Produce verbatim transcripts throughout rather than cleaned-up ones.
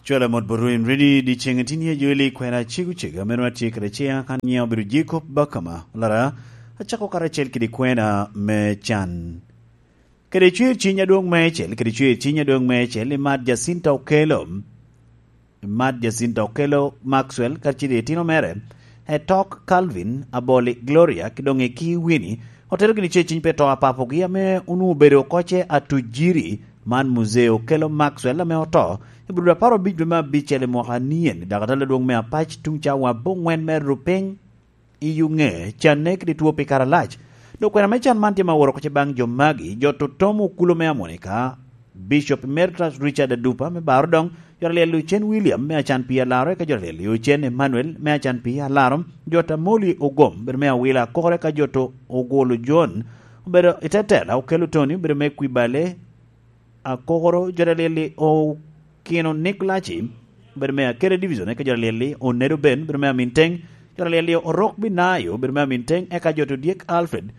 Cwalo mot botwu en ready, dyeceŋ itini a Joel i kwena cego cego, ame wan atye kede ceya kan nyiŋa obedo Jacob Bakama Lara, acako karacel kede kwena me can. Kede cwer ciny adwoŋ meicel, kede cwer ciny adwoŋ meicel, i Mat Jacinta Okello, i Mat Jacinta Okello Maxwell, kacel i etino mere, Etok Calvin, Aboli Gloria, ki doŋ Eki Winnie, otero gini cwer ciny pe to a papogi ame onwoŋo obedo oko ce Atujiri, man Muzee Okello Maxwell ame oto i Budo apar abic dwe me abicel i mwaka nien, i dakatala adwoŋ me apac tuŋ cawa aboŋwen me rupiny i Yuŋe, canne kede two pi kare alac. Dok kwena me can man tye ma woro oko ce baŋ jo magi, jo totom okulu me Amonika, Bishop Emeritus Richard Adupa me Baro doŋ, jo alyel Ocen William me acan pi Alaro, eka jo alyel Ocen Emmanuel me acan pi Alaro, jo Tamoli Ogom, bedo me Awila Akokoro, eka jo to Ogolo John, obedo i te tela, Okello Tony, obedo me Kwibale, Akokoro, jo alyel Okino Nick Laci, obedo me Akere Division, eka jo alyel Onedo Ben, obedo me Aminteng, jo alyel Orok Binayo, obedo me Aminteng, eka jo to Dyek Alfred,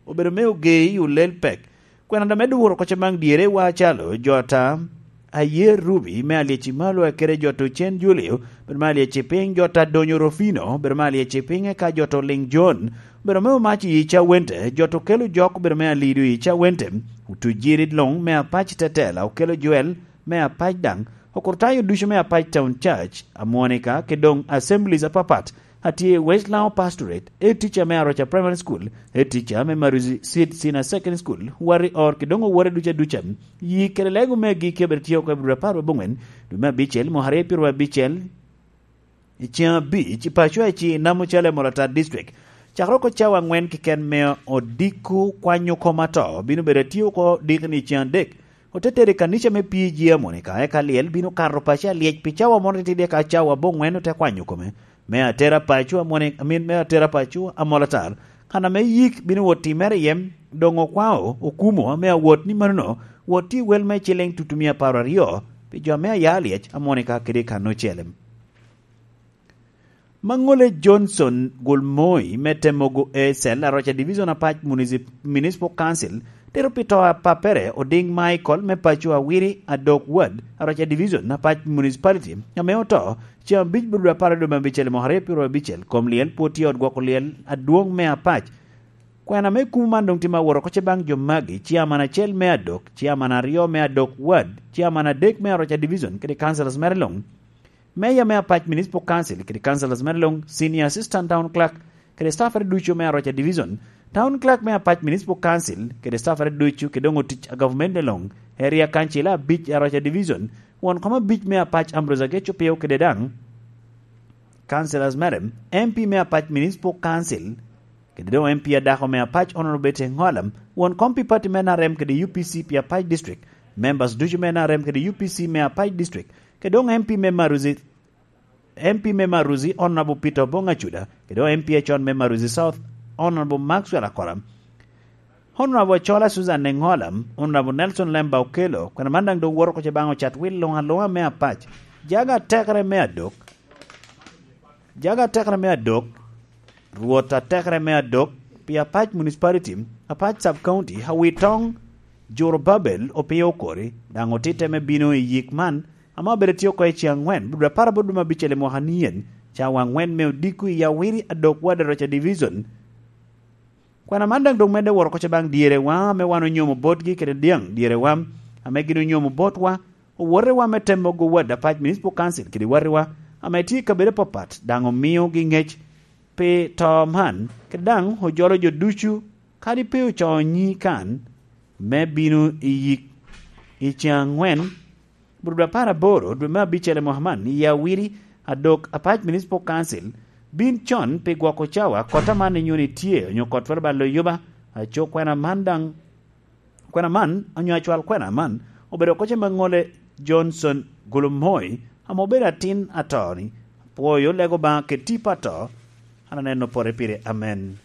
obedo me Ogei Olel Pek. Kwena ame dwuro oko ce baŋ dyere wa acalo jo ata Ayer Ruby me Alyeci Malo, kede jo to Cen Julio, bedo me Alyeci Piny, jo ata Donyo Rufino, bedo me Alyeci Piny, eka jo to Liŋ John, bedo me Omaci Ica Wente, jo to Kelo Jok, bedo me Alido Ica Wente, Otujiri Luŋ me Apac Tetela, Okello Joel me Apac daŋ, Okurtayo ducu me Apac Town Church, Amonika, kede doŋ assemblies apapat, atye i West Lango Pastorate, head teacher me Aroca Primary School, head teacher me Maruzi Seed Senior Secondary School, Warri Or, kede doŋ owote ducu aduca. Yi kede lego me agikki abed tye oko i Abril apar wabongwen, dwe me abicel, mwaka aryo pyero abicel, i ceŋ abic, i paco a ci Namo Cale Molatar District. Cakere oko cawa angwen keken me odiko kwanyo kom ato, bino bedo atye oko dikni i ceŋ adek. Ote tero i kanica me P G Amoni, ka eka lyel bino kato paco alyec pi cawa moro titidi, eka cawa aboŋwen ote kwanyo kome. Me atera paco Amoni, amin me atera paco Amolatar, kan ame yik bino wot timere iye, doŋ okwao okumo ame awot ni manono, wot i wel me ciliŋ tutumia apar aryo, pi jo ame aya alyec Amoni ka kede i kan ocele. Maŋole Johnson Gulmoi me Temogo A Cell, Aroca Division, Apac Municip-, Municipal Council, tito pi to a pappere Oding Michael me paco Awiri, Adok Ward, Aroca Division, Apac Municipality, ame oto ceŋ abic Abril apar dwe me abicel mwaka aryo pyero abicel. Kom lyel pwod tye i ot gwoko lyel adwoŋ me Apac. Kwena me kumo man doŋ tye ma woro oko ce baŋ jo magi: Chairman acel me Adok, Chairman aryo me Adok Ward, Chairman adek me Aroca Division, kede councillors mere luŋ. Meya me Apac Municipal Council kede councillors mere luŋ, Senior Assistant Town Clerk kede staffere ducu me Aroca Division, Town Clerk me Apac Municipal Council kede staffere ducu, kede doŋ otic a gavumenti luŋ, Area Council abic Aroca Division, won kom abic me Apac Ambrose Ageco Pio, kede daŋ councillors mere, M P me Apac Municipal Council, kede doŋ M P adako me Apac Honorable Betty Engola, won kom pi party me N R M kede U P C pi Apac District, members ducu me N R M kede U P C me Apac District, kede doŋ M P me Maruzi, M P me Maruzi, Honorable Peter Obong Acuda, kede doŋ M P acon me Maruzi South, Honorable Maxwell Akora, Honorable Achola Susan Engola, Honorable Nelson Lemba Okello, kwena man daŋ doŋ woto oko ce baŋ ocat wil luŋ aluŋa me Apac. Jaga atekere me Adok, Jaga atekere me Adok, Rwot atekere me Adok, pi Apac Municipality, Apac Sub County, Awitoŋ, Juro Babel, Opio Okori, daŋ otitte me bino i yik man, ame obedo tye oko i ceŋ angwen, Abril apar aboro dwe me abicel i mwaka nien, cawa angwen me odiko i Awiri Adok Ward Aroca Division. Kwena man daŋ doŋ medde woro oko ce baŋ dyerewa ame wan onyomo botgi kede dyaŋ dyerewa ame gin onyomo botwa, owotewa me Temogo Ward Apac Municipal Council kede wattiwa ame tye i kabedo apapat, daŋ omiogi ŋec pi to man, kede daŋ ojolo jo ducu, kadi pe ocoo nyi kan, me bino i yik i ceŋ angwen, Abril apar aboro dwe me abicel i mwaka man, i Awiri Adok Apac Municipal Council, bin con pi gwoko cawa kot aman inyo ni tye onyo kot twero balo yuba. Aco kwena man daŋ, kwena man onyo acwal kwena man obedo oko ce Maŋole Johnson Gulumoi, ame obedo atin ato-ni. Apwoyo lego Obaŋa kede tipo ato, an aneno pore pire. Amen.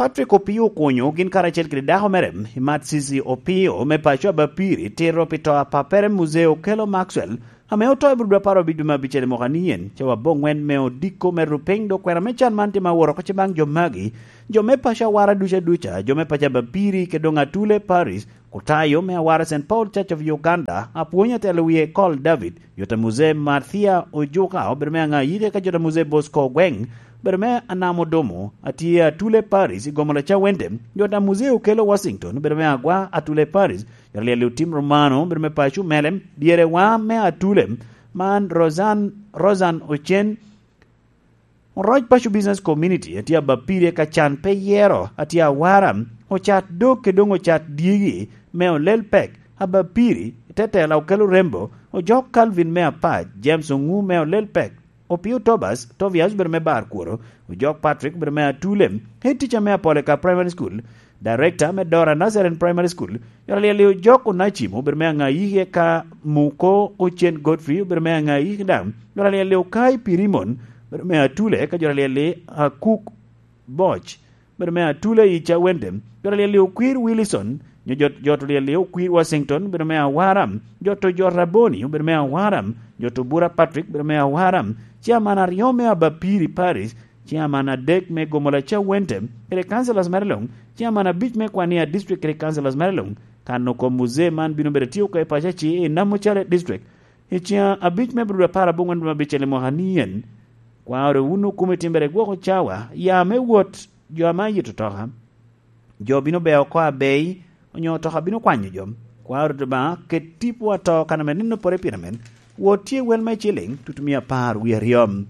Patrick Opio Okunyo gin karacel kede dako mere, Imat Cici Opio me paco Abapiri, tito pi to a pappere Muzee Okello Maxwell, ame oto i Budo apar abic dwe me abicel i mwaka ni yen, cawa aboŋwen me odiko me rupiny, dok kwena me can man tye ma woro oko ce baŋ jo magi, jo me paco Awara ducu aduca, jo me paco Abapiri, kede doŋ Atule Paris, Kutayo me Awara Saint Paul Church of Uganda, apwony atelo wie Col David, jota Muzee Marthia Ojuka, obedo me aŋa yike ka jota Muzee Bosco Ogweng, obedo me Anam Odomo, atye Atule Paris i Gomola Cawende, jota Muzee Okello Washington, obedo me Agwa Atule Paris, jota Lyel Otim Romano, obedo me paco Melem, dyere wa me Atule, man Rosan, Rosan Ocen, Oroc Paco Business Community, atye Abapiri ka can pe yero, atye Awara, ocat dog kede doŋ ocat dyegi, me olel pek, Abapiri, te tela Okello Rembo, ojok Calvin me Apac, James Oŋu me olel pek, Opio Tobas, Tobias obedo me bar kworo, ojok Patrick obedo me Atule, head teacher me Apoleka Primary School, director me Dora Nazarene Primary School, jota Lyel Ojok Onacim obedo me aŋa yike ka Muko Ocen Godfrey obedo me aŋa yike daŋ, jota Lyel Okai Pirimon obedo me Atule, ka jota Lyel Akuk Boc obedo me Atule i Cawende, jota Lyel Okwir Wilson, nyo jot, jota Lyel Okwir Washington obedo me Awara, jota Ojot Raboni obedo me Awara, jota Obura Patrick obedo me Awara, chairman aryo me Abapiri Parish, chairman adek me Gomola Cawende, kede councillors mere luŋ, chairman abic me Kwania District kede councillors mere luŋ, kan oko Muzee man bino bedo tye oko i paco aci i Namucale District, i ceng abic me Abril apar aboŋwen dwe abicel i mwaka ni en. Kwa oro wun okome timbere gwoko cawa, ya me wot jo ame ayito toka. Jo bino beo oko abei, onyo toka bino kwanyo jo. Kwa oro Obaŋa, ket tipo ato kan ame neno pore pien amen. Wot tye wel me ciliŋ, tutumia apar wie aryo.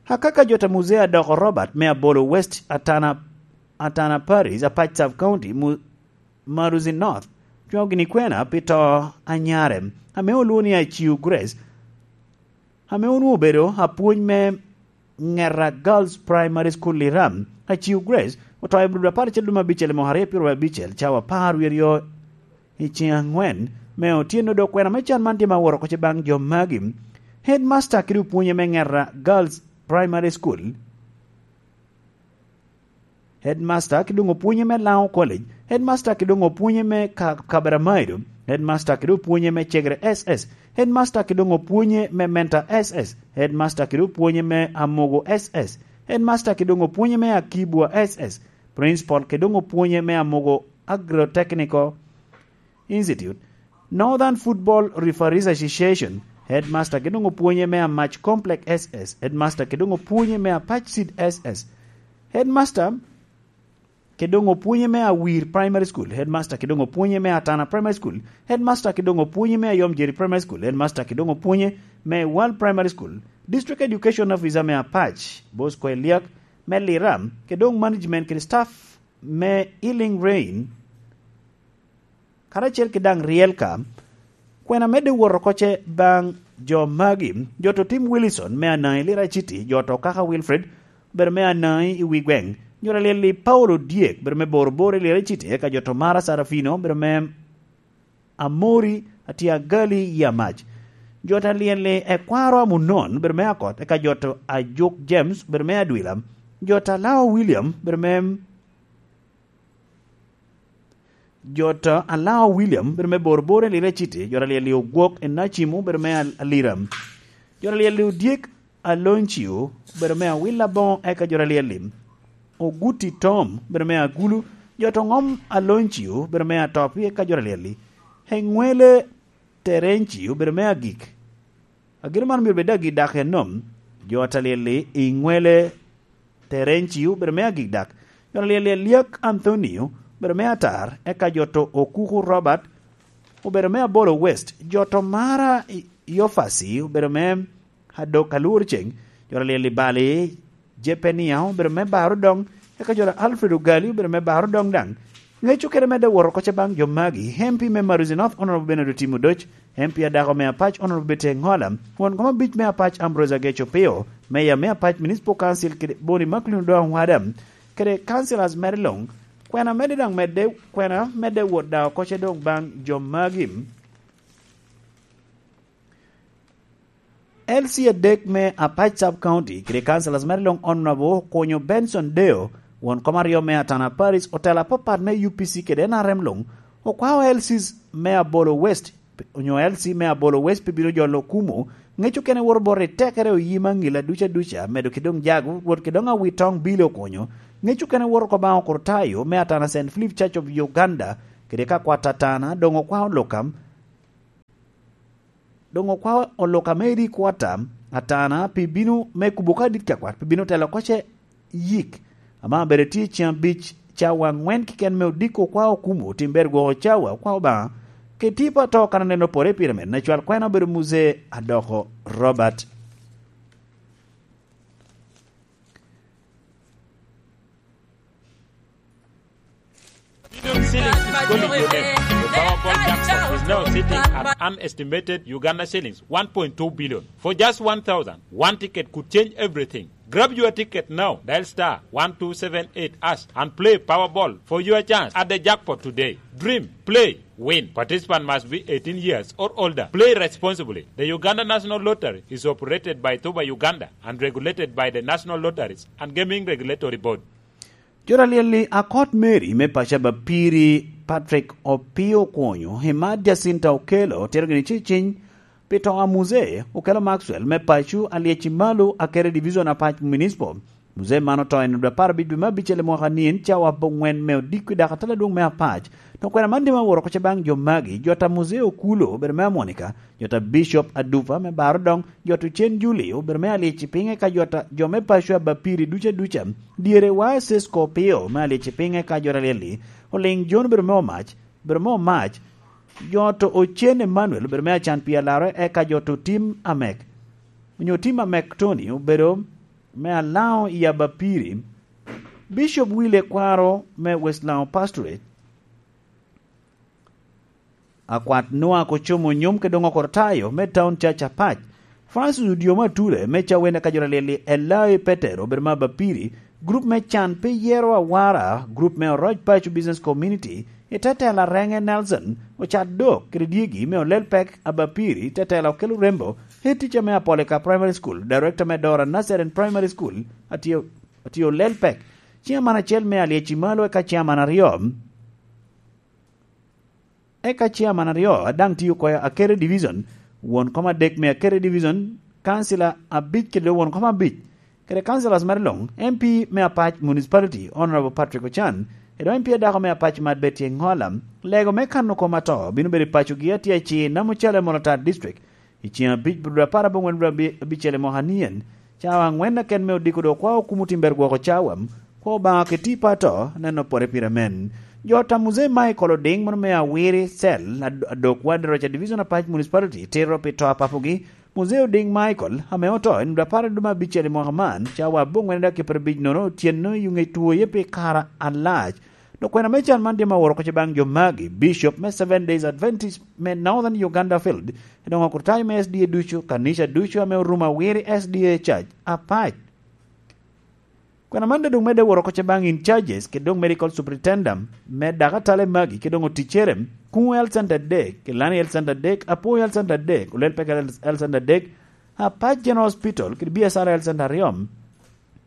Akaka jota Muzee Adoko Robert me Abolo West Atana, Atana Paris, Apac Sub County, Mu-, Maruzi North, cwaŋo gini kwena pi to anyare, ame olwoŋo ni Aciu Grace, ame onwoŋo obedo apwony me Ŋera Girls Primary School Liram. Aciu Grace oto i Abril apar acel dwe me abicel i mwaka aryo pyeraryo abicel, cawa apar wie aryo i ceng aŋwen me otyeno, dok kwena me can man tye ma woro oko ce baŋ jo magi. Headmaster kede opwonye me Ŋera Girls Primary School, Headmaster kede doŋ opwonye me Lango College, Headmaster kede doŋ opwonye me Ka-, Kaberamaido, Headmaster kede opwonye me Cegere S S, Headmaster kede doŋ opwonye me Menta S S, Headmaster kede opwonye me Amogo S S, Headmaster kede doŋ opwonye me Akibwa S S, Principal kede doŋ opwonye me Amogo Agrotechnical Institute, Northern Football Referees Association, Headmaster kede doŋ opwonye me Amac Complex S S, Headmaster kede doŋ opwonye me Apac Seed S S, Headmaster kede doŋ opwonye me Awir Primary School, Headmaster kede doŋ opwonye me Atana Primary School, Headmaster kede doŋ opwonye me Ayom Jerry Primary School, Headmaster kede doŋ opwonye me World Primary School, District Education Officer me Apac, Bosco Eliak, me Liram, kede doŋ management kede staff me Healing Rain, karacel ki daŋ ryel ka. Kwena medde wot oko ce baŋ jo magi, jo to Tim Wilson me Anaŋi Lira City, jo to Kaka Wilfred, obedo me Anaŋi i wi gweŋ, jo to Lyelli Paulo Dyek, obedo me Boroboro i Lira City, eka jo to Mara Sarafino, obedo me Amori, atye Agali i Amac. Jo to Lyelli Ekwaro Amunon, obedo me Akot, eka jo to Ajuk James, obedo me Adwila. Jo to Alao William, obedo me Jo to Alao William, obedo me Boroboro i Lira City, jo to Lyelli Ogwok i Nacim, obedo me Al-, Alira. Jo to Lyelli Odyek Aloncio, obedo me Awila Boŋo, eka jo to Lyelli Oguti Tom, obedo me Agulu, jo to Ŋom Aloncio, obedo me Atopi, eka jo to Lyelli Eŋwele Terencio, obedo me Agik. Agin man myero bed agi dak enom. Jo to Lyelli Eŋwele Terencio obedo me agik dak. Jo to Lyelli Eliak Anthonio obedo me atar, eka jo to Okuku Robert obedo me Abolo West. Jo to Mara I-, Yofasi obedo me Adok Alwor Ceng. Jo to Lyelli Bali Jepenia obedo me Baro Doŋ, eka jo to Alfred Ogali obedo me Baro Doŋ daŋ. Ŋec okene medde wot oko ce baŋ jo magi, M P me Maruzi North, Honorable Bernard Otimo Odoc, M P adako me Apac, Honorable Betty Engola, won kom abic me Apac, Ambrose Ageco Opio, Mayor me Apac Municipal Council, kede Boni Maclean Odongo Wada, kede councillors mere luŋ. Kwena medde daŋ medde, kwena medde wot daŋ oko ce doŋ baŋ jo magi. L C adek me Apac Sub County kede councillors mere luŋ, Honorable Okonyo Benson Deo, Won kom aryo me Atana Paris, otelo apapat me U P C kede N R M luŋ okwao L Cs me Abolo West, onyo L C me Abolo West pe bino jolo Okumu. Ŋec okene woto bot i tekere oyi me aŋila duca duca, medo ki doŋ jago, rwot ki doŋ Awitoŋ Billy Okonyo. Ŋec okene woto oko baŋ Okurtayo me Atana Saint Philip Church of Uganda, kede ka kwat Atana doŋ okwao Olukam, doŋ okwao Olukam me edi kwata Atana pi bino me kubo ka dit ka kwat, pi bino telo koce yik. Ama bere tye ceŋ abic cawa aŋwen keken me odiko okwao Okumu, otim ber gwoko cawa okwao Obaŋa. Keti pa to kan oneno pore pire men, acwal kwena obedo Muzee Adoko Robert. Million shillings is calling your name. The Powerball jackpot is now sitting at an estimated Uganda shillings one point two billion. For just one thousand, one ticket could change everything. Grab your ticket now. Dial star one two seven eight hash and play Powerball for your chance at the jackpot today. Dream, play, win. Participant must be eighteen years or older. Play responsibly. The Uganda National Lottery is operated by Tuba Uganda and regulated by the National Lotteries and Gaming Regulatory Board. Jo ta lyel-li, akot Mary me paco Abapiri, Patrick Opio Okwonyo, Emad Jacinta Okello, otito gini ceciny pi to a Muzee Okello Maxwell me paco Alyeci Malo, Akere Division, Apac Municipal. Muzee man oto i nino apar abic dwe me abicel i mwaka ni, en cawa abongwen me odiko i dako atala adwoŋ me Apac. Dok kwena man dima woro koce baŋ jo magi, jo ta Muzee Okulo, obedo me Amonika, jo ta Bishop Adupa me Baro Doŋ, jo ta Ocen Juli, obedo me Alyeci Piny, eka jo ta, jo me paco Abapiri duca duca, dyere wa Cisco Opio me Alyeci Piny, eka jo ta lyel-li, Oliŋ Jon, obedo me Omac, obedo me Omac, jo ta Ocen Emmanuel, obedo me Acan Pi Alaro, eka jo ta Otim Amek, onyo Otim Amek Tony, obedo me Alaŋo i Abapiri, Bishop Willy Ekwaro me West Laŋo Pastorate, Akwat Noah Kocomo Onyom kede doŋ Okortayo me Town Church Apac, Francis Odiomo Ature me Cawene ka jo ta lyel-li, Elai Petero obedo me Abapiri, gurup me Can pi Yero Awara, gurup me Oroc Paco Business Community, i te telo Arenge Nelson Ocadok kede dyegi me Olelpek Abapiri, i te telo Okello Rembo, head teacher me Apolika Primary School, director me Dora Nursery and Primary School, atye, atye Olelpek. Chairman acel me Alyeci Malo, eka chairman aryo, eka chairman aryo a daŋ tye oko i Akere Division, won kom adek me Akere Division, councillor abic kede won kom abic, kede councillors mere luŋ, M P me Apac Municipality, Honourable Patrick Ochan, kede M P adako me Apac Mad Betty Engola. Lego me kano kom ato bino bedo i pacogi atye acir Namucalo, Molotar District, i ceŋ abic dwe apar abongwen dwe abi-, abicel i mwaka nien, cawa aŋwen aken me odiko dok kwao Okumu Otim ber gwoko cawa, kwao Obaŋa keti pa to, neno pore pire men. Jo ta Muzee Michael Oding, mono me Awiri Cell, ad-, adok wad Roca Division Apac Municipality, tito pi to a papogi, Muzee Oding Michael, ame oto i nino apar dwe me abicel i mwaka man, cawa abongwen dakika pyerabic nono otyeno i ŋec two ye pi kare alac. Dok kwena me can man dima woro koce baŋ jo magi, Bishop me Seven Days Adventist me Northern Uganda Field, doŋ okurtayo me S D A ducu, kanica ducu ame orumo Awiri S D A Church Apac. Kwena man doŋ medde woro koce baŋ in charges, kede doŋ medical superintendent me dako atale magi, kede doŋ oticere, Kuŋo Health Center adek, Kilani Health Center adek, Apoyo Health Center adek, Olelpek Health Center adek, Apac General Hospital, kede B S R Health Center aryo,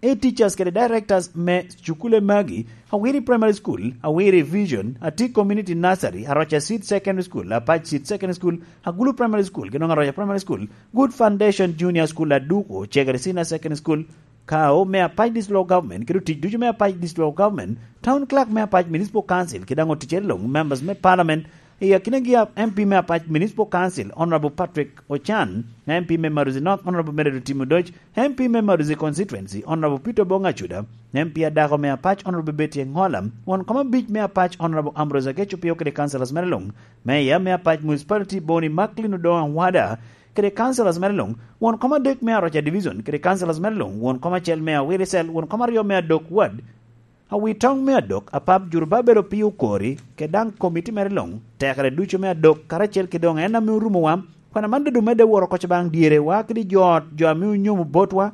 e teachers kede directors me cukule magi, Awiri Primary School, Awiri Vision, Ati Community Nursery, Aroca Seed Secondary School, Apac Seed Secondary School, Agulu Primary School, kede doŋ Aroca Primary School, Good Foundation Junior School, Aduko, Chegere Senior Secondary School, Kao me Apac District Local Government, kede otic ducu me Apac District Local Government, Town Clerk me Apac Municipal Council, kede doŋ oticere luŋ, members me Parliament, i akinagi a M P me Apac Municipal Council, Honourable Patrick Ochan, M P me Maruzi North, Honourable Meredo Timo Doc, M P me Maruzi Constituency, Honourable Peter Obong Acuda, M P adako me Apac, Honourable Betty Engola, won kom abic me Apac, Honourable Ambrose Ageco Pio kede councillors mere luŋ, Mayor me Apac Municipality, Boni Macklin Odongo Awada, kede councillors mere luŋ, won kom adek me Aroca Division, kede councillors mere luŋ, won kom acel me Awiri Cell, won kom aryo me Adok Ward, Awitoŋ me Adok, Apap Jurubabel Opio Okori, kede daŋ komiti mere luŋ, tekere ducu me Adok, karacel kede doŋ en ame orumowa, kwena man doŋ medde woro koce baŋ dyerewa kede jo ot, jo ame onyomo botwa,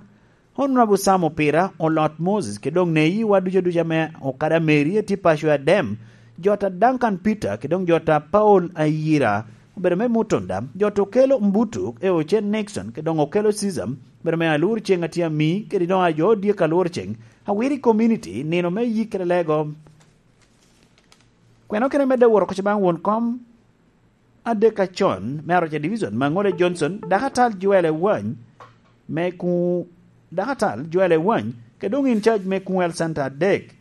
Honourable Sam Opira, Olot Moses, kede doŋ neyiwa ducu aduca me Okada Mary, Eti Paco Adem, jo ta Duncan Peter, kede doŋ jo ta Paul Ayira, obedo me Mutunda, jo to okelo Mbutu, e Ocen Nixon, kede doŋ okelo Caesar, obedo me Alur Ceŋ Atye Ami, kede doŋ ajo odyek Alur Ceŋ, Awiri Community, nino me yik kede lego. Kwena okene medde woro koca baŋ won kom adek acon me Aroca Division, Maŋole Johnson, dako atal Joel Ewany, me ku, dako atal Joel Ewany, kede doŋ in charge me Kuŋwel Center adek.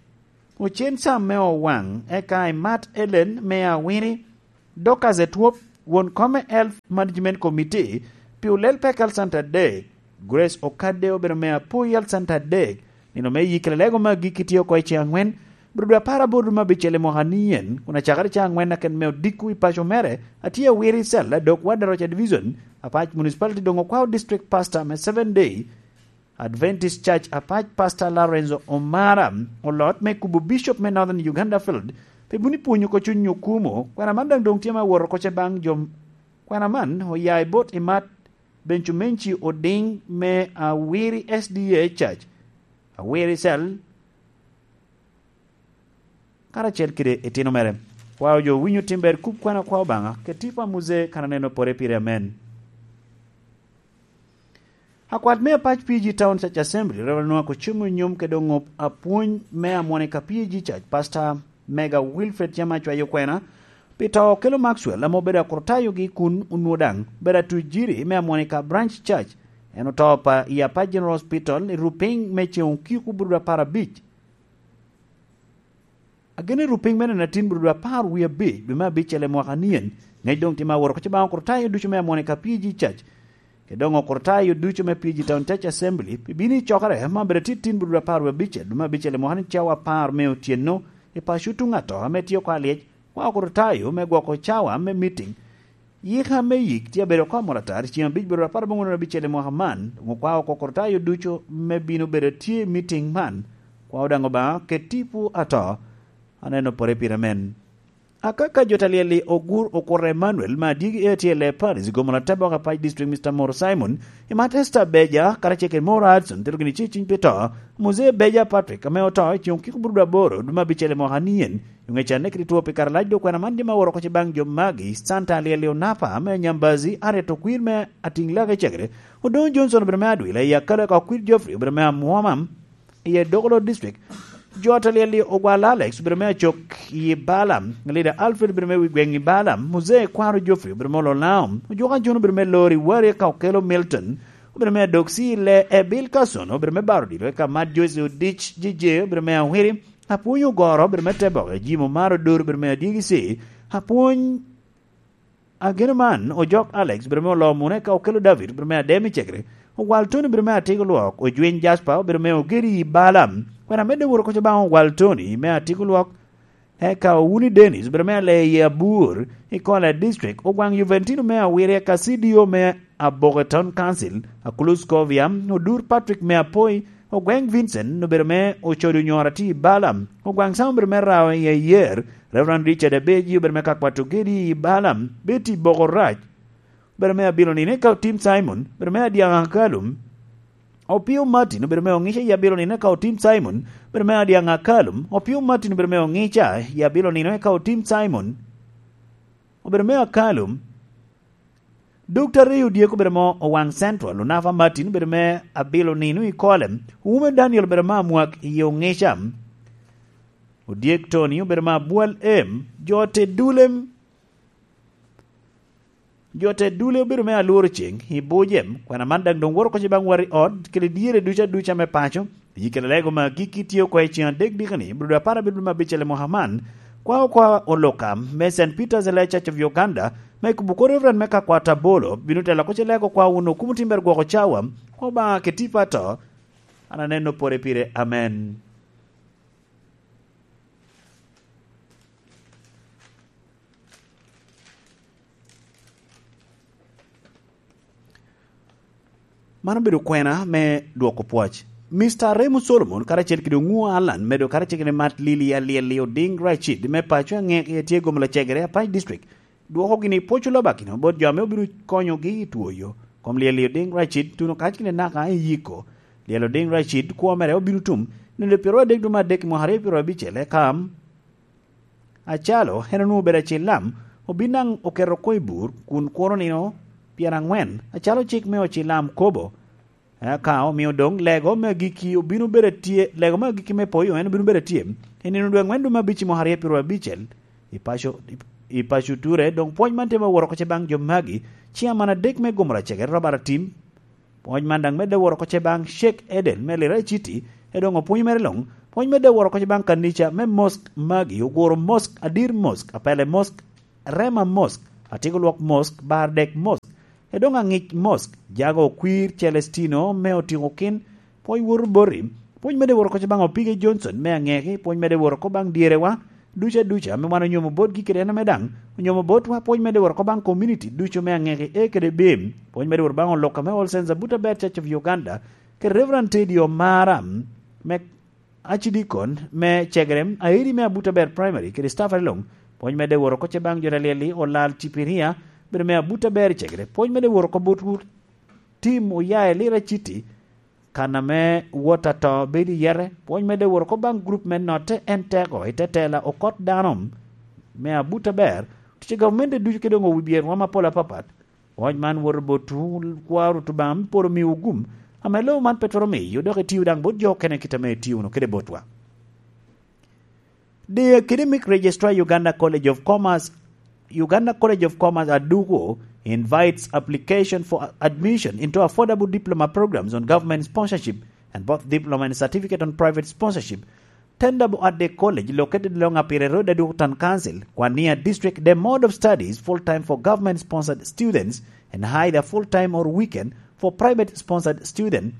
Ocen Sam me Owaŋ, eka Imat Ellen me Awini, Dorcas Etwop, won kom me Health Management Committee, pi olel pek Health Center adek, Grace Okadde obedo me Apoi Health Center adek, nino me yikere lego me agikki tye oko i ceŋ aŋwen, Brudu apar aboro dwe me abicel i mwaka ni en, kun acakere ceŋ aŋwen aken me odiko i paco mere, atye awiro i cella dok wad Aroca Division, Apac Municipality doŋ okwao District Pastor me Seven Day Adventist Church Apac, Pastor Lorenzo Omara, olot me kubo Bishop me Northern Uganda Field, pi buni pwonyo oko cuny okumo, kwena man daŋ doŋ tye ma woro oko ce baŋ jo. Kwena man oya i bot Imat Bencumenci Oding me Awiri S D A Church, Awiri Cell, karacel kede itino mere. Kwao jo winyo tim ber kub kwena kwao Obaŋa, kede tipo a Muze kan aneno pore pire, amen. Akwat me Apac P G Town Church Assembly, Reverend Nwako Cumu Nyom kede oŋop apwony me amwone ka P G Church, Pastor Mega Wilfred Cem acwayo kwena pi to okelo Maxwell, ame obedo akurtayogi kun onwo daŋ obedo atujiri me amwone ka Branch Church. En oto pa i Apac General Hospital i rupiny me ceŋ okiko bururu apar abic. Ageno i rupiny me neno atin bururu apar wie abic, dwe me abicel i mwaka nien. Ŋec doŋ tye ma woro oko ce baŋ okurtayo ducu me amwone ka P G Church, kede doŋ okurtayo ducu me P G Town Church Assembly, pi bino i cokere ma obedo atin bururu apar wie abicel, dwe me abicel i mwaka ni cawa apar me otyeno, i paco tuŋ ato ame tye oko alyec, kwa okurtayo me gwoko cawa me meeting, yika me yik tye abedo oko amot atar, ceŋ abic bururu apar aboŋwen abicel i mwaka man, doŋ okwao oko okurtayo ducu me bino bedo tye i meeting man, kwao daŋ Obaŋa kede tipo ato, aneno pore pire men. Akaka jo talyel-li ogur okuto Emmanuel me adyegi A T L A Paris, gomo Latebok Apac District, Mister Moro Simon, Imat Esther Beja, karacel kede Moro Hudson, tero gini ci cuny pi to, Muzee Beja Patrick, ame oto i ceŋ okiko bururu aboro, dwe me abicel i mwaka nien, i ŋec anne kede two pi kare lac dok kwena man jami aworo oko ce baŋ jo magi, Santa Alyel-li Onapa, ame Nyambazi, Aret Okwir me Atiŋ Lake Cegere, Odoŋo Johnson obedo me Adwila, i Akalo eka Okwir Geoffrey obedo me Amwoma, i Edokolo District. Jo a talyel-li ogwal Alex obedo me Acok i Bala, Lida Alfred obedo me wi gweŋ i Bala, Muzee Kwaro Geoffrey obedo me Ololao, Ojuka John obedo me Lori Wari eka Okelo Milton, obedo me Adok Cile, Ebil Kason obedo me Baro Odilo eka Mat Joyce Odic, Jeje obedo me Awiri, Apwony Ogoro obedo me Teboke, Jim Omaro Dor obedo me Adyegi C, Apwony Ageno man, Ojok Alex obedo me Oloo Mune ka Okelo David obedo me Adem i Cegere, Ogwal Tony obedo me Atiko Lwok, Ojwiny Jasper obedo me Ogeri i Bala. Kwena medde woro koca baŋ Ogwal Tony me Atiko Lwok, eka Owuni Dennis obedo me Aleye Abur i Kola District, Ogwaŋ Juventino me Awiri eka C D O me Aboke Town Council, Akulus Kovia, Odur Patrick me Apoi, Ogweŋ Vincent obedo me Ocodo Nyoro atye i Bala, Ogwaŋ Sam obedo me Rawo i Ayer, Reverend Richard Abeji obedo me Kakwato Gedi i Bala, Betty Bokorac obedo me Abilo Nino eka Otim Simon obedo me Adyaŋ Akalum, Opio Martin obedo me Oŋica i Abilo Nino eka Otim Simon obedo me Adyaŋ Akalum, Opio Martin obedo me Oŋica i Abilo Nino eka Otim Simon obedo me Akalum, Doctor Ray Odyek obedo mo Owaŋ Central, Onafa Martin obedo me Abilo Nino i Kolem, Owume Daniel obedo me Amwak i Oŋica, Odyek Tony obedo me Abwal Em, jo te Dulem, jo te Dule obedo me Alworo Ceŋ i Bujem, kwena man daŋ doŋ woro koca baŋ wati ot, kede dyere ducu aduca me paco, Yikere lego me agikki tye oko i ceŋ adek dikani, Brudu apar abiro me abicel i mwaka man, kwa okwa oluka me Saint Peter's Elia Church of Uganda, me kubo kor Reverend me Kakwata Bolo, bino telo oko ce lego kwa wun okumo timber gwoko cawa, kwa Obaŋa kede tipo ato, an aneno pore pire. Amen. Man obedo kwena me dwoko pwoc. Mister Remo Solomon karacel kede Oŋuo Allan medo karacel kede Mat Lili Alyel-li Oding Racid me paco Aŋek, tye gomo lacegere Apac District. Dwoko gini pwoc olobakino bot jo ame obino konyogi i twoyo kom Lyel-li Oding Racid tuno kac kede naka i yiko. Lyel Oding Racid kwo mere obino tum nino pyeraryo adek dwe me adek i mwaka aryo pyeraryo abicel, eka acalo en onwoŋo obedo acil lam, Obin daŋ oketo oko i bur, kun kuro nino pyerangwen, acalo cik me Ocilam kobo. Eka omio doŋ lego me agikki obino bedo atye, lego me agikki me poyo en obino bedo atye i nino dwe angwen dwe me abic i mwaka aryo pyeraryo abicel i paco, i paco Ture. Doŋ pwony man tye me woro oko ce baŋ jo magi, ciaman adek me Gomora Cege, Robert Atim, pwony man daŋ medde woro oko ce baŋ Sheikh Edel me Lira City, e doŋ opwony mere luŋ, pwony medde woro oko ce baŋ kanica me Mosque magi, Oguro Mosque, Adir Mosque, Apele Mosque, Rema Mosque, Atyeko Lwok Mosque, Bardek Mosque, e doŋ Aŋic Mosque, Jago Okwir Celestino me Otiko Kin, pwony woto boti, pwony medde woro oko ce baŋ Opige Johnson me Aŋeki, pwony medde woro oko baŋ dyerewa ducu aduca ame wan onyomo botgi kede en ame daŋ onyomo botwa, pwony medde woro oko baŋ komuniti ducu me Aŋeki A kede B, pwony medde woro baŋ Oluka me All Saints Abuta Ber Church of Uganda, kede Reverend Teddy Omara me Acidikon me Cegere, Airi me Abuta Ber Primary, kede staff areloŋ, pwony medde woro oko ce baŋ jo alyel-li, Olal Cipiria, bedo me Abuta Ber Cegere, pwony medde woro oko botwu, tim oya i Lira City, kan ame wot ato bedo i yete, pwony medde woro oko baŋ gurup me notte en teko i te tela okot dano me Abuta Ber, tic i gavumenti ducu kede doŋ owibye rwom apol apapat. Pwony man woto botwu, kwaro Obaŋa me poro miwu gum, ame lobo man pe twero miyo, dok itio daŋ bot jo okene kit ame itio wunu kede botwa. The Academic Registrar, Uganda College of Commerce, Uganda College of Commerce Aduku invites application for admission into affordable diploma programs on government sponsorship and both diploma and certificate on private sponsorship. Tenable at the college located along Apire Road, Aduku Town Council, Kwania District. The mode of study is full-time for government-sponsored students and either full-time or weekend for private-sponsored student.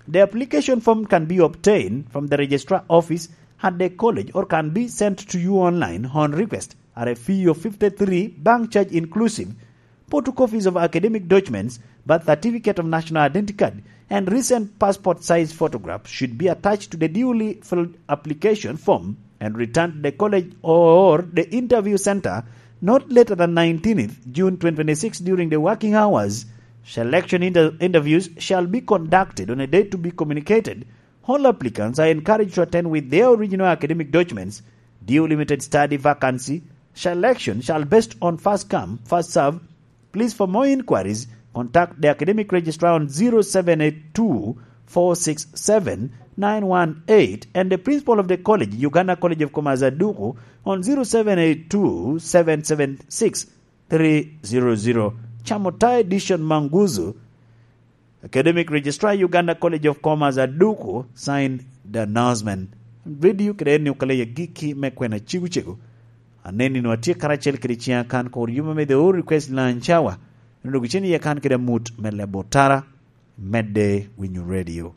The application form can be obtained from the registrar office at the college or can be sent to you online on request at a fee of fifty-three bank charge inclusive. Photocopies of academic documents, birth certificate of national identity card, and recent passport size photograph should be attached to the duly filled application form and returned to the college or the interview center not later than nineteenth June twenty twenty-six during the working hours. Selection inter-, interviews shall be conducted on a date to be communicated. All applicants are encouraged to attend with their original academic documents. Due limited study vacancy. Selection shall based on first come, first serve. Please, for more inquiries, contact the academic registrar on zero seven eight two four six seven nine one eight and the principal of the college, Uganda College of Commerce Aduku, on zero seven eight two seven seven six three zero zero. Chamota Edition Manguzu, Academic Registrar, Uganda College of Commerce Aduku, signed the announcement. Radio kede en ni okaleya gikki me kwena cegu cegu. Aneni no atye karacel kede ciŋa kan kor yuma me The All Request Lunch Hour. Eno dok icen iye kan kede amut me lebo tara, medde winyo radio.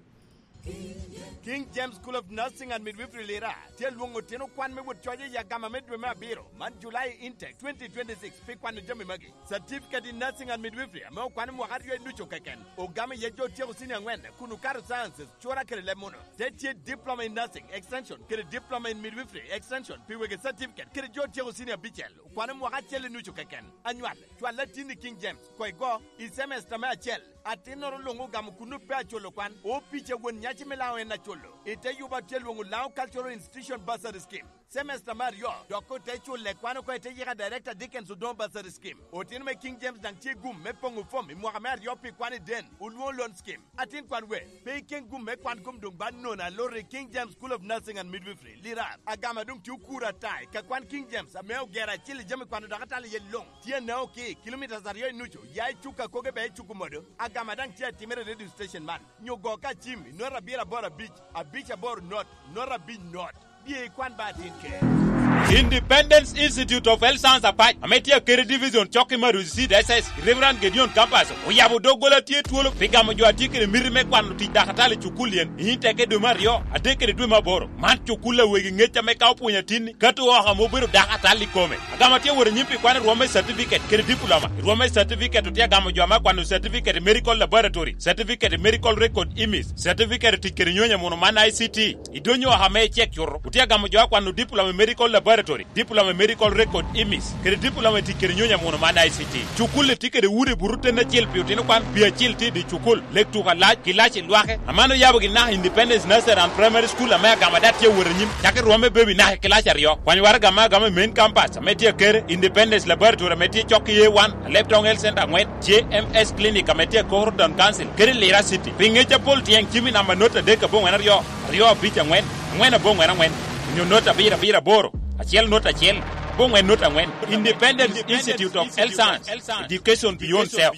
King James School of Nursing and Midwifery Lira tye alwoŋo otino kwan me wot coc i agama me dwe me abiro man, July intake twenty twenty-six, pi kwano jami magi: Certificate in Nursing and Midwifery ame okwano mwaka aryo i nucu keken, ogamo iye jo otyeko senior angwen kun okato sciences, cura kede leb muno. Te tye Diploma in Nursing Extension kede Diploma in Midwifery Extension pi wegi certificate kede jo otyeko senior abicel, okwano mwaka acel i nucu keken. Anywal, cwal atin i King James, koigo, i semester me acel. Atinnoro luŋ ogamo kun ope aculo kwan, opic a won nyaci me Laŋo en aculo. I te yuba tye lwoŋo Laŋo Cultural Institution Bursary Scheme. Semester me aryo, dok ote culle kwan oko i te yika Director Dickens Odongo Bursary Scheme. Otino me King James daŋ tye gum me poŋo fom i mwaka me aryo pi kwan i den, olwoŋo loan scheme. Atin kwan we, pe iken gum me kwan kom doŋ ba nono aloro i King James School of Nursing and Midwifery, Lirar. Agama doŋ tye okuro ata i ka kwan King James ame ogero acil i jami kwano dok atalo iye luŋ. Tye anao ki kilomitas aryo i nucu, ya i Cuka Koge bea i Cuku Modo. Agama daŋ tye atimere i radio station man. Nyo go ka cim i nota abiro aboro abic, abic aboro not, nota abic not. Bye ikwan ba atin ker. Independence Institute of Health Science Apac, ame tye Akere Division, cok i Maruzi Seed S S, Reverend Gideon Campus, oyabo doggola tye twolo pi gamo jo a tye kede miti me kwano tic dakatali i cukul yen, i teke dwe me aryo, adek kede dwe me aboro. Man cukul a wegi ŋec ame ka opwonyo atinni, kato oko ame obedo dakatali i kome. Agama tye wot anyim pi kwano rwom me certificate kede diploma. I rwom me certificate otye agamo jo ame akwano certificate i medical laboratory, certificate i medical record, imis, certificate i tic kede nyonyo muno man I C T. Idonyo oko ame icek cuto, otye agamo jo akwano diploma i medical laboratory. Laboratory, Diploma in Medical Record, imis, kede Diploma i tic kede nyonyo amuno man I C T. Cukul-li tye kede udi buto ten acel pi otino kwan, pi acil tye i dye cukul, lek tuko alac, kilaci lwake. Aman oyabo gin naka Independence Nursery and Primary School ame agama dat tye awot anyim, cakki rwomme baby naka i kilaci aryo. Kwany waraga me agama i main campus ame tye akere, Independence Laboratory ame tye cok i A one, Alep Town Health Center angwen, J M S Clinic ame tye akoro Town Council, kede Lira City. Pi ngec apol tyeng cim i namba not adek aboŋwen aryo, aryo abic aŋwen, aŋwen aboŋwen aŋwen, onyo not abiro abiro aboro, acel not acel, aboŋwen not aŋwen. Independent Institute of Health Science, Education Beyond Self.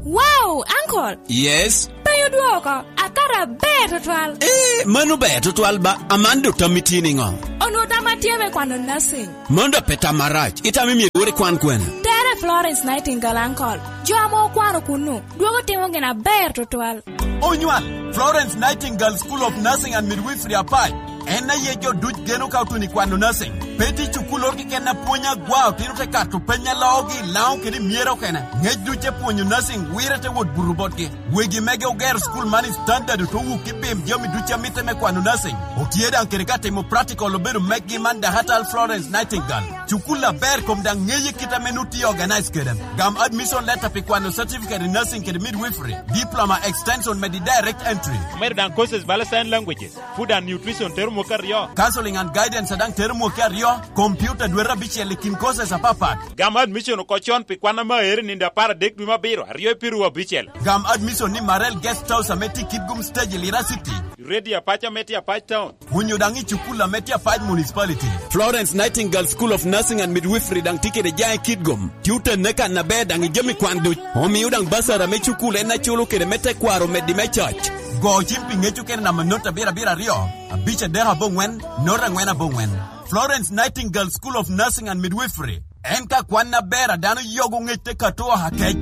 Wow, Uncle! Yes? Pe odwoko, akato aber tutwal. Eh, mano ber tutwal ba, aman do tammi tye niŋo? Onwo tamma tye me kwano nursing. Mano da pe tam marac, itamo myero iwor ikwan kwene? Tere Florence Nightingale, Uncle. Jo ame okwano kunnu, dwogo timo gin aber tutwal. Onywal, Florence Nightingale School of Nursing and Midwifery Apac. En aye jo duc geno ka otuno i kwano nursing. Pe tye cukul oro keken a pwony agwa, otino te kato peny a loogi i Laŋo kede i Myera okene. Ngec duc te pwonyo nursing wirre te wot buto botgi. Wegi mege ogero cukul man i standard, ote wuk i bim jami duc a mitte me kwano nursing. Otye daŋ kede ka timo practical obedo meggi man Dakatal Florence Nightingale. Cukul aber kom daŋ ŋeye kit ame nu tye organize kede. Gam admission letter pi kwano certificate in nursing kede midwifery, diploma extension me di direct entry. Omedo daŋ courses bala sign languages, food and nutrition tero mwaka aryo. Counseling and guidance daŋ tero mwaka aryo, computer dwete abicel i kin courses apapat. Gam admission oko con pi kwan ame aero i nino apar adek dwe me abiro, aryo i piru abicel. Gam admission ni Marel Guest House ame tye i Kitgum Stage i Lira City. Ready Apac ame tye Apac Town. Onyo daŋ i cukul ame tye Apac Municipality. Florence Nightingale School of Nursing and Midwifery daŋ tye kede jaŋ i Kitgum. Tye otenne kan aber daŋ i jami kwan duc. Omio daŋ basara me cukul en aculo kede me tekwaro meddi me coc. Go cim pi ŋec okene namba not abiro abiro aryo, abic adek aboŋwen, not angwen aboŋwen. Florence Nightingale School of Nursing and Midwifery. En ka kwan aber a dano yogo ŋec te kato oha kec.